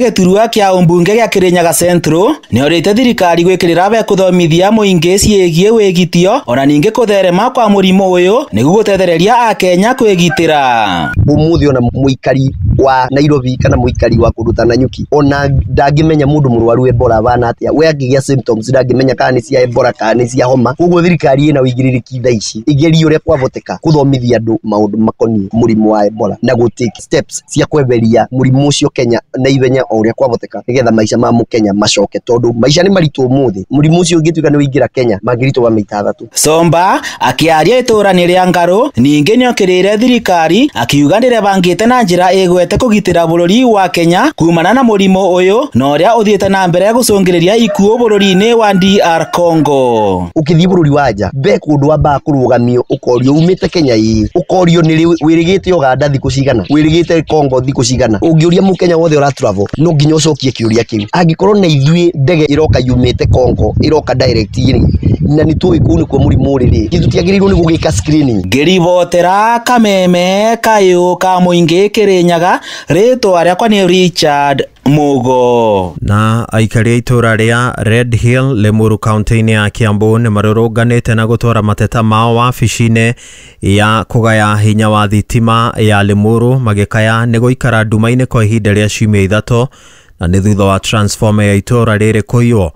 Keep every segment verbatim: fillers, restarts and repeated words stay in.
Gĩturwa kĩa ũmbunge gĩa Kirinyaga Central nĩorĩtie thirikari gwĩkĩrĩra bekũthomithia mũingĩ ciĩgiĩ wĩgitio ona ningĩ kũtherema kwa mũrimũ ũyũ nĩguo gũtethereria akenya kwĩgitĩra. Ũmũthĩ ona mũikari wa Nairobi kana mũikari wa kũndũ ta Nanyuki ona ndangĩmenya mũndũ mũrwaru Ebola ahana atĩa, we angĩgĩa symptoms ndangĩmenya kana nĩ cia Ebola kana nĩ cia homa. Koguo thirikari ĩna ũigĩrĩrĩki thaa ici ĩgerie ũrĩa kwahoteka kũthomithia andũ maũndũ makoniĩ mũrimũ wa Ebola na gũ take steps cia kweheria mũrimũ ũcio Kenya na ihenya o ũrĩa kwahoteka nĩgetha maica ma mũkenya macoke, tondũ maica nĩ maritũ ũmũthĩ. Mũrimũ ũcio ũngĩtuĩka nĩ waingĩra Kenya mangĩritũha maita athatũ. Somba akĩaria itũra-inĩ rĩa Ngarũ ningĩ nĩokĩrĩire thirikari akiuga ndĩrebangĩte na njĩra ĩgwete kũgitĩra bũrũri wa Kenya kumana na mũrimũ ũyũ na ũrĩa ũthiĩte na mbere gũcũngĩrĩria ikuũ bũrũri-inĩ wa D R Congo. Ũkĩthiĩ bũrũri wa nja be kũndũ wambaga kũrũgamio ũkorio umĩte Kenya ĩĩ, ũkorio nĩ rĩ wĩrĩgĩte Uganda thikũ cigana, wĩrĩgĩte Congo thikũ cigana. Ũngĩũria mũkenya wothe ũra travel no nginya ũcokie kĩũria kĩu. Angĩkorwo na ithuĩ ndege ĩroka yumĩte Congo ĩroka direct rĩ, na nĩ tũĩ kũu nĩkuo mũrimũ ũrĩ rĩ, tũtiagĩrĩirwo nĩ gũgĩka screening. Ngĩribotera Kameme kayũ ka mũingĩ Kĩrĩnyaga, rĩtwa rĩakwa nĩ Richard Mugo. Na aikari a itũra rĩa Red Hill Limuru kaunti-inĩ ya Kiambu nĩ marũrũnganĩte na gũtwara mateta mao wabici-inĩ ya kũgaya hinya wa thitima ya Limuru magĩkaya nĩ gũikara nduma-inĩ kwa ihinda rĩa ciumia ithatũ na nĩ thutha wa transformer ya itũra rĩrĩ kũiywo.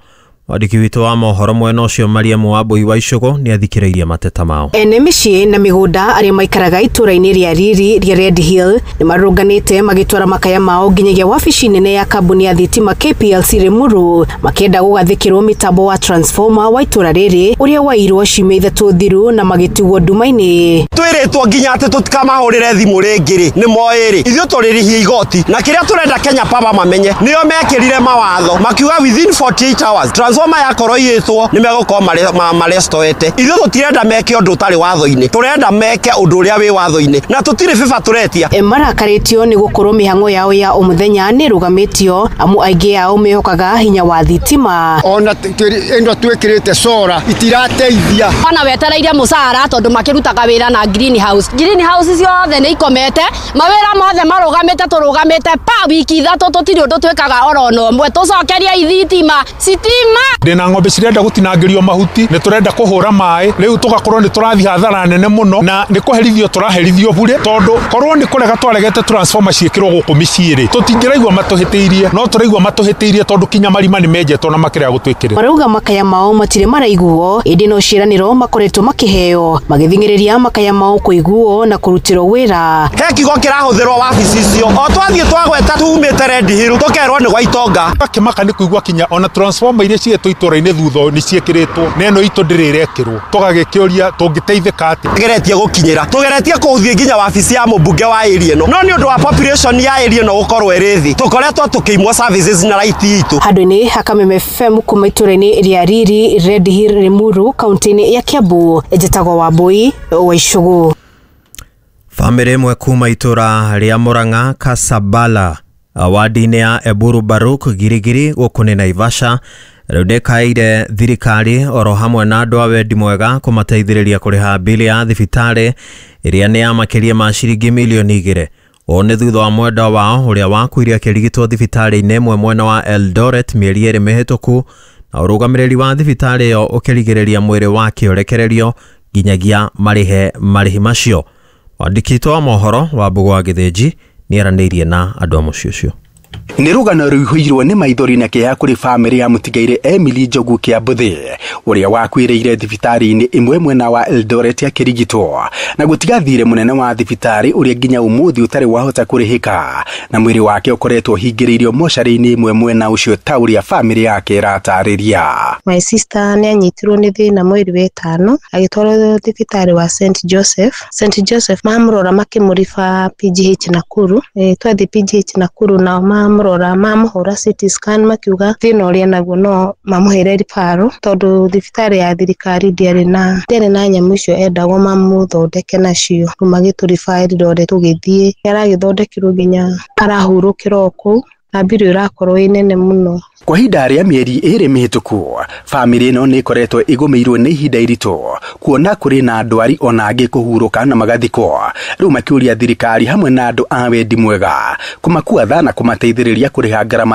Mwandĩki witũ wa mohoro mwena ũcio Mariam Wambui wa Icũgũ nĩ athikĩrĩirie mateta mao. Ene mĩciĩ na mĩgũnda arĩa maikaraga itũra-inĩ rĩa Riri rĩa Red Hill nĩ marũrũnganĩte magĩtwara makaya mao nginyagia wabici nene ya kambuni ya thitima K P L C Limuru makĩenda gũgathĩkĩrwo mĩtambo wa transformer wa itũra rĩrĩ ũrĩa wairwo ciumia ithatũ thiru na magĩtigwo nduma-inĩ. Twĩrĩtwo nginya atĩ tũtikamahũrĩre thimũ rĩngĩ rĩ, nĩ moĩ rĩ, ithuĩ tũrĩrĩhia igoti na kĩrĩa tũrenda Kenya Power mamenye nĩo mekĩrire mawatho makiuga within forty-eight hours transformer yakorwo iyĩtwo nĩ megũkorwo marestoete. Ithuĩ tũtirenda meke ũndũ ũtarĩ watho-inĩ, tũrenda meke ũndũ ũrĩa wĩ watho-inĩ na tũtirĩ bĩba tũretia. E marakarĩtio nĩ gũkorwo mĩhang'o yao ya o mũthenya nĩ ĩrũgamĩtio amu aingĩ ao mehokaga hinya wa thitima. Ona ĩno twĩkĩrĩte sora itirateithia. Ona wetereire mũcara tondũ makĩrutaga wĩra na greenhouse. Greenhouse ciothe nĩ ikomete, mawĩra mothe marũgamĩte, tũrũgamĩte pa wiki ithatũ tũtirĩ ũndũ twĩkaga oro na ũmwe. Tũcokerie ithitima sitima. Ndĩna ng'ombe cirenda gũtinangĩrio mahuti, nĩ tũrenda kũhũra maĩ, rĩu tũgakorwo nĩ tũrathiĩ hathara nene mũno na nĩ kũherithio tũraherithio bure, tondũ korwo nĩ kũrega twaregete transformer ciĩkĩrwo gũkũ mĩciĩ rĩ, tũtingĩraigua matũhĩtĩirie, no tũraigua matũhĩtĩirie tondũ kinya marima nĩ menjetwo na makĩrega gũtwĩkĩrĩra. Marauga makaya mao matirĩ maraiguo ĩndĩ no ciĩranĩro makoretwo makĩheo magĩthing'ĩrĩria makaya mao kũiguo na kũrutĩrwo wĩra. He kiugo kĩrahũthĩrwo wabici icio o twathiĩ twagweta tumĩte Red Hill tũkerwo nĩ gwa itonga. Akĩmaka nĩ kũigua kinya ona transformer iria ciĩtwo itũra-inĩ thutha nĩ ciĩkĩrĩtwo na ĩno itũ ndĩrĩ ĩrekĩrwo, tũgagĩkĩũria tũngĩteithĩka atĩa. Tũgeretie gũkinyĩra, tũgeretie kũthiĩ nginya wabici ya mũmbunge wa area ĩno, no nĩ ũndũ wa population ya area ĩno gũkorwo ĩrĩ thĩ tũkoretwo tũkĩimwo services na right itũ. Handũ-inĩ ha Kameme F M kuma itũra-inĩ rĩa Riri Red Hill Limuru kaunti-inĩ ya Kiambu, njĩtagwo Wambui wa Icũgũ. Bamĩrĩ ĩmwe kuma itũra rĩa Murang'a Kasabala wadi-inĩ ya Eburu Baruk Girigiri gũkũ nĩ Naivasha rĩu ndĩkaĩire thirikari oro hamwe na andũ a wendi mwega kũmateithĩrĩria kũrĩha bili ya thibitarĩ ĩrĩa nĩ ya makĩria ma ciringi milioni igĩrĩ. Ũũ nĩ thutha wa mwendwa wao ũrĩa wakuire akĩrigitwo thibitarĩ-inĩ ĩmwe mwena wa Eldoret mĩeri ĩrĩ mĩhĩtũku na ũrũgamĩrĩri wa thibitarĩ ĩyo ũkĩrigĩrĩria mwĩrĩ wake ũrekererio nginyagia marĩhe marĩhi macio. Mwandĩki witũ wa mohoro wa Mbũgũ wa Gĩthĩnji nĩaranĩirie na andũ a mũciĩ ũcio. Nĩ rũgano rũihũirwo nĩ maithori na kĩeha kũrĩ bamĩrĩ ya mũtigairĩ Emily Njogu Kĩambũthĩ ũrĩa wakuĩrĩire thibitarĩ-inĩ ĩmwe mwena wa Eldoret akĩrigitwo na gũtiga thirĩ mũnene wa thibitarĩ ũrĩa nginya ũmũthĩ ũtarĩ wahota kũrĩhĩka na mwĩrĩ wake ũkoretwo ũhingĩrĩirio mocarĩ-inĩ ĩmwe mwena ũcio ta ũrĩa bamĩrĩ yake ĩratarĩria. My sister nĩ anyitirwo nĩ thĩna mweri wa ĩtano agĩtwarwo thibitarĩ wa Saint Joseph. Saint Joseph mamũrora makĩmũriba P G H Nakuru. E, twathiĩ P G H Nakuru nao mamũrora mamũhũra C T scan makiuga thĩna ũrĩa naguo no mamũhere referral tondũ thibitarĩ ya thirikari ndĩarĩ na ndĩarĩ na nyamũ icio endagwo mamũthondeke nacio. Rĩu magĩtũriba Eldoret tũgĩthiĩ, aragĩthondekirwo nginya arahurũkĩra o kũu. Na mbiru ĩrakorwo ĩ nene mũno. Kwa ihinda rĩa mĩeri ĩrĩ mĩhĩtũku, bamĩrĩ ĩno nĩ ĩkoretwo ĩgũmĩirwo nĩ ihinda iritũ kuona kũrĩ na ndwari ona angĩ kũhurũka na magathikwo. Rĩu makĩũria thirikari hamwe na andũ a wendi mwega kũmakua tha na kũmateithĩrĩria kũrĩha ngarama.